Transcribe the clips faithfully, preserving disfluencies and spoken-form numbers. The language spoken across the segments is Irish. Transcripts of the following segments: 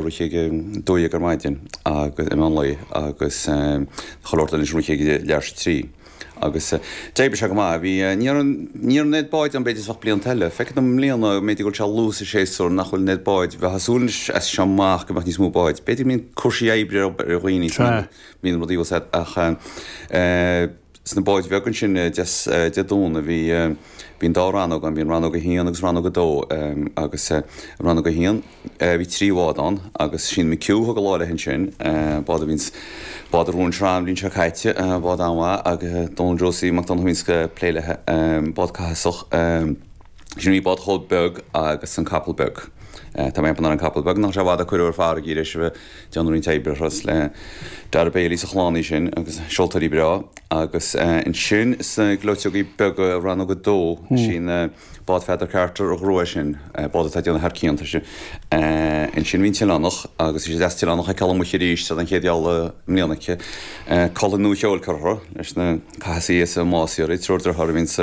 rith ag dó dhéag ar maidin agus i meán lae agus chuile shórt eile ansin rith ag leathuair tar éis a trí. Agus d'oibrigh sé go maith. Bhí, ní raibh, ní raibh an oiread báid ann b'fhéidir is bheadh blianta eile. Feictear dom i mbliana, b'fhéidir go bhfuil sé luath sa séasúr nach bhfuil an oiread báid, bheifeá ag súil anois as seo amach go mbeadh níos mó báid. B'fhéidir go mbíonn cúrsaí oibre ar dhaoine, bíonn rudaí ach sna báid bheaga ansin Dé Domhnaigh bhí, bhí an dá rannóg ann, bhí an rannóg a haon agus rannóg a dó agus rannóg a haon, Bhí trí bhád ann agus sin McHugh thug an lá léi ansin, bád a bhíonns, bád a bhuaigh an sraith an bhliain seo caite, bád an-mhaith agus Dónal Josie Mac Donncha a bhíonns ag plé léi, bád cathasach, sin bhí bád chomh beag agus an capall beag. Tá mé ag ceapadh nach an capall beag nach raibh sé i bhfad ó cuireadh ar farraige í tar éis a bheith ag déanamh roinnt oibre thuas le Dara Bailey sa chlann í sin agus seoltóirí breá agus ansin sna gleoiteogaí beaga rannóg a dó sin Bád Pheadar Carter a ghnóthaigh é sin, bád atá ag déanamh thar cionn, tá sé. Ansin bhí an tOileánach agus bhí sé deas an tOileánach a fheiceáil amuigh arís, seo an chéad gheall i mbliana aici. Culaith nua cheoil curtha uirthi leis na Cathasaigh is a Másaí uirthi, triúr deartháir a bhíonns,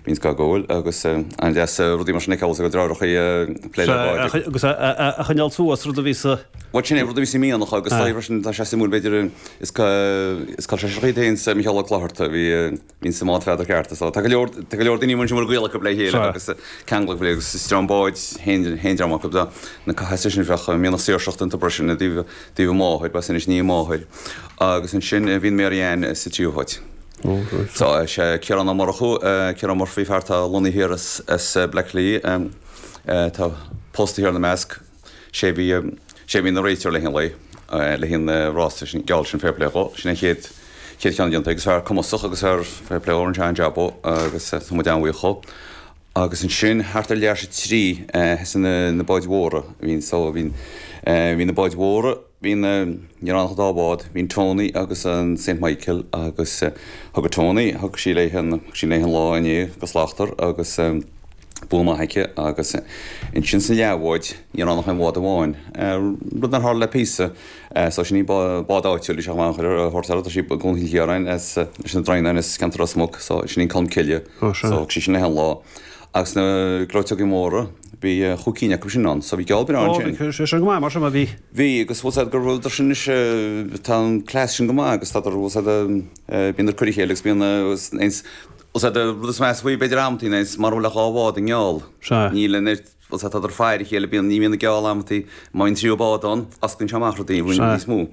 bhíonns ag gabháil agus an-deas rudaí mar sin a fheiceáil agus a gcuid deartháireacha ag plé le báid. Agus a choinneáil suas, rud a bhí sa. Bhuel sin é, rud a bhí sa mianach agus dá freisin tá sé suimiúil b'fhéidir is is col seisear iad féin is Micheál Ó Clochartaigh a bhí bhí sa mbád Pheadar Carter so tá go leor tá go leor daoine ansin a bhfuil gaol acu le chéile agus ceangal acu le agus is dream báid féin féin dream acu do na Cathasaigh sin bheadh mianach saoirseachta an tobar sin i dtaobh dtaobh a máthair b'as Inis Ní a máthair agus ansin bhí an Mary Ann sa tríú háit. So is é Ciarán Ó Murchú Ciarán Murphy fear atá lonnaithe thiar as as Bleá Cliath atá pósta thiar ina measc sé bhí sé bhí ina réiteoir le haghaidh an lae le haghaidh an rása sin geall sin fair play dhó sin an chéad chéad cheann déanta agus fear cumasach agus fear fair play dhó rinne sé an-jab dhó agus tá muid an-bhuíoch dhó. Agus ansin thart ar leathuair tar éis a trí thosaigh na na báid mhóra bhí so bhí bhí na báid mhóra bhí na ní raibh ann ach an dá bhád bhí an Tony agus an Saint Michael agus thug an Tony thug sí léi an thug sí léi an lá inné go slachtmhar agus bua maith aici agus ansin sna leathbháid ní raibh ann ach aon bhád amháin, rud nár tharla le píosa. So sin í bád áitiúil, bhí sé chomh maith an chuid thabhairt uirthi, tá sí i gContae Chill Chiaráin as leis na Droighneáin as ceantar Ros Muc so sin í Colm Cille so thug sí sin léi an lá. Agus na gleoiteogaí móra, bhí chúig cinn acu sin ann so bhí geall breá ansin. Ó bhí sé sin go maith mar sin má bhí. Bhí agus bhfuil 's a'd gur bhfuil sin anois tá an cleas sin go maith agus tá bhfuil 's a'd bíonn ar cur a chéile agus bíonn aon Bhfuil 's a'd rud is measa faoi b'fhéidir amantaí ná is mara bhfuil ach dhá bhád i ngeall. Sea. Níl an oiread, bhfuil 's a'd tádar faire a chéile, bíonn, ní bhíonn an geall amantaí, má bhíonn tríú bád ann, osclaíonn sé amach rudaí, rudaí níos mó.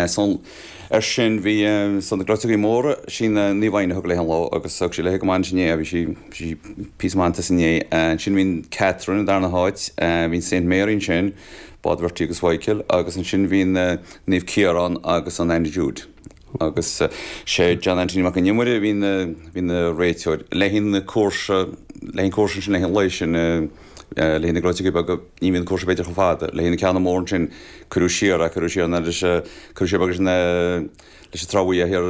So, ar sin bhí, so na gleoiteogaí móra, sin Naomh Adhna a thug léi an lá agus thug sí léi go maith ansin inné, bhí sí, bhí sí píosa maith ann inné. Ansin bhí an Catherine i darna háit, bhí an Saint Mary ansin, bád Bhertie agus Mhichael, agus ansin bhí an Naomh Ciarán agus an Andy Jude. Agus sé John Anthony Mac an Iomaire a bhí ina réiteoir. Le haghaidh an cúrsa, le haghaidh an cúrsa ansin, le haghaidh an lae sin, le haghaidh na gleoiteogaí beaga, ní bhíonn an cúrsa b'fhéidir chomh fada. Le haghaidh na ceanna mór ansin, cuireadh siar é, cuireadh siar leis, cuireadh siar beag leis an, leis an Trá Bhuí thiar,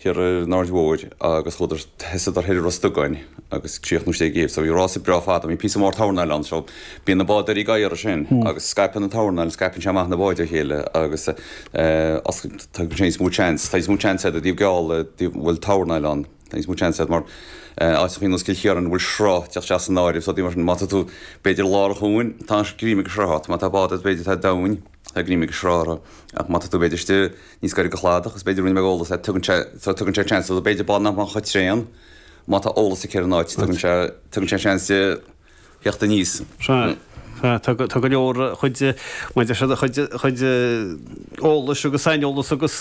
thiar ar an Aird Mhóir agus chuadar, thosaíodar thoir i Ros Dugáin agus críochnú istigh ag Éabh. So bhí rása breá fada, bhí píosa mór tornáil ann so bíonn na bádóirí ag oighear ansin agus scaipeann an tornáil, scaipeann sé amach na báid ó chéile agus, Tugann sé níos mó chance, tá níos mó chance agat i dtaobh geall, i dtaobh bhfuil tornáil ann, tá níos mó chance agat mar áiteachaí nós Cill Chiaráin bhfuil sruth teacht isteach san áireamh, so mar sin má tá tú b'fhéidir i lár an chuain, tá an greim ag an sruth ort, má tá bád agat b'fhéidir atá domhain, tá greim ag an sruth orthu, ach má tá tú b'fhéidir istigh níos gaire go chladach is b'fhéidir ruainne beag eolas agat, tugann sé, so tugann sé chance, so b'fhéidir bád nach mbeadh chomh tréan, má tá eolas aici ar an áit, tugann sé, tugann sé seans di theacht aníos. Sea, sea, tá go leor chuid, mar deir siad, chuid, chuid eolais agus saineolas agus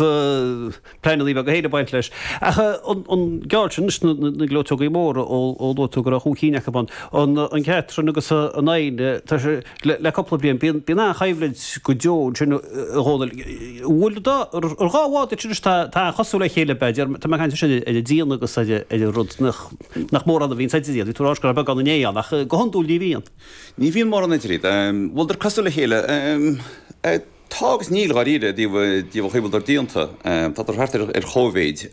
pleananna beaga féin ag baint leis. Ach an, an geall sin anois, na, na gleoiteogaí móra ó, ó luaigh tú go raibh chúig cinn acu ann, an, an Catherine agus an Fhoighne, tá sé, le, le cúpla bliain, bíonn, bíonn an-choimhlint go deo ansin, a Dhónaill. Bhfuil dá, ar dhá bhád iad sin anois, tá, tá an-chosúil le chéile, b'fhéidir, tá mé ag caint ansin ar an díon agus ar, ar an rud nach, Nach mórán a bhíonn idir iad. Bhí tú ag rá go raibh beagán inné ann, ach go hiondúil ní bhíonn. Ní bhíonn mórán idir iad. Bhfuileadar cosúil le chéile? Tá agus níl, dháiríre, i dtaobh an chaoi a bhfuileadar déanta. Tádar thart ar chóimhéid.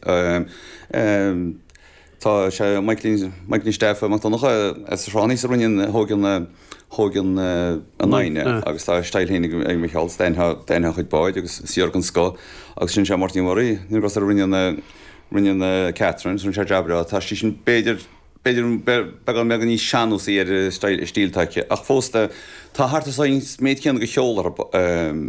Tá sé Michaelín, Michaelín Steph Mac Donncha as Srath an Íosa a rinne an, thóg an, thóg an, an Fhoighne agus tá a style féin ag Micheál, d'aithneofá, d'aithneofá a chuid báid agus saothar den scoth agus sin sé Máirtín Murray, ní raibh a rinne an, Rinne an Catherine, rinne sé jab breá. Tá sí sin b'fhéidir, b'fhéidir beagán beag níos sean-nósaí ar an stíl atá aici, ach fós tá thart ar an méid céanna de sheol orthu.